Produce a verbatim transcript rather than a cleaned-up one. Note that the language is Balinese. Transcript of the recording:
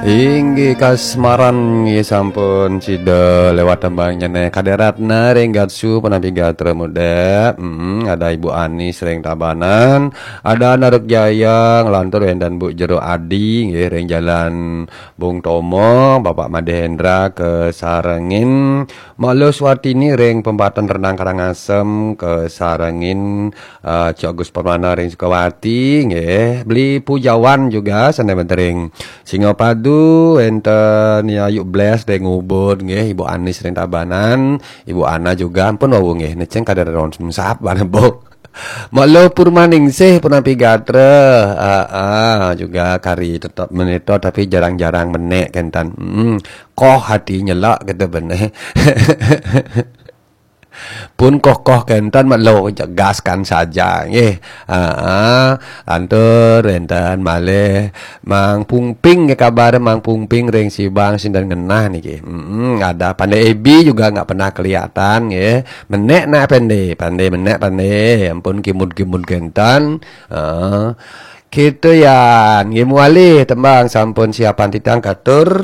Inggih kasmaran nggih sampun sida lewat tembangnya neh. Kade Ratna ring Gatsu punapi gatra muda. Mm, ada Ibu Anis ring Tabanan, ada Naruk Jaya nglantur wenten Bu Jero Adi nggih ring Jalan Bung Tomo, Bapak Made Hendra kesarengin, Mak Lo Swatini ring Pempatan Renang Karangasem kesarengin, eh, Cok Gus Permana ring Sukawati nggih, Beli Pujawan juga sane ring Singapadu, enten Yayu Bles ring Ubud nggih, Ibu Anis ring Tabanan, Ibu Ana juga ampun wau nggih, neceng kada ron sap bana Bu. Mak Lo Purmaningsih punapi gatra, ah, ah, juga kari tetep menito tapi jarang-jarang menek kenten. Hmm, koh hati nyelak kita bener. Pun koh-koh kenten Mak Lo, jegaskan saja nggih. Ah, ah, lantur enten malih Mang Pungping ke kabar Mang Pungping ring Sibang sinten ngenah niki. Mm-mm, ada Pande Ebi juga nggak pernah kelihatan nggih. Menek nak Pande, Pande menek Pande. Ampun kimud-kimud kenten. Ah, gitu ya. Nggih mualih tembang sampun siapan titang katur.